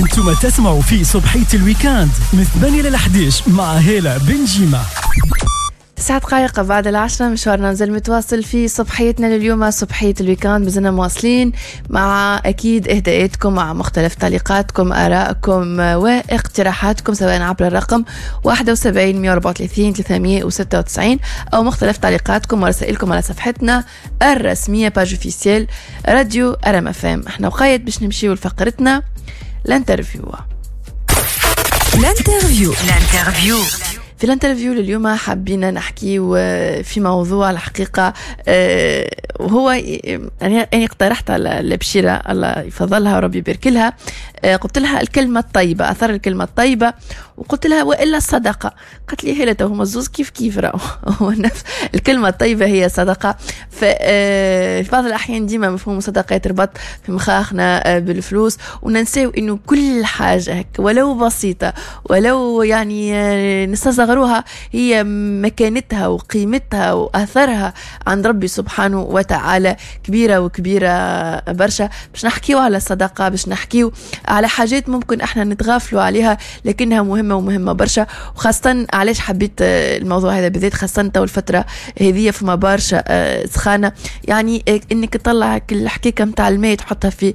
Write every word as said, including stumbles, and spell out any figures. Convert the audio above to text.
انتم تسمعوا في صبحية ال week-end من ثمانية ل أحد عشر مع هالة بنجيمة. تسعة دقائق بعد العشرة، مشوارنا مازال متواصل في صبحيتنا لليوم، صبحية ال week-end. مازلنا مواصلين مع أكيد إهداءاتكم، مع مختلف تعليقاتكم، آرائكم واقتراحاتكم، سواء عبر الرقم واحد وسبعين مية وأربعة وثلاثين ثلاثمية وستة وتسعين أو مختلف تعليقاتكم ورسائلكم على صفحتنا الرسمية page officielle راديو أرم أف أم. احنا وقيت باش نمشيو لفقرتنا l'interview. l'interview، l'interview. في l'interview لليوم حبينا نحكي في موضوع الحقيقة آه، وهو يعني أنا اقترحت على البشيرة، الله يفضلها وربي يبارك لها، آه، قلت لها الكلمة الطيبة، أثر الكلمة الطيبة، وقلت لها وإلا الصدقة. قالت لي هلا هما الزوز كيف كيف، راهو هو نفس الكلمة الطيبة هي صدقة. آه، في بعض الأحيان ديما مفهوم الصدقة يتربط في مخاخنا بالفلوس، وننساو إنه كل حاجة هيك ولو بسيطة ولو يعني نستصغروها هي مكانتها وقيمتها وأثرها عند ربي سبحانه وتعالى كبيرة وكبيرة برشا. باش نحكيو على الصدقة، باش نحكيو على حاجات ممكن احنا نتغافلوا عليها لكنها مهمة ومهمة برشا. وخاصة علاش حبيت الموضوع هذا بالذات؟ خاصة تو الفترة هذه فما برشا آه، سخانة، يعني انك تطلع الحكيكة متاع الماء تحطها في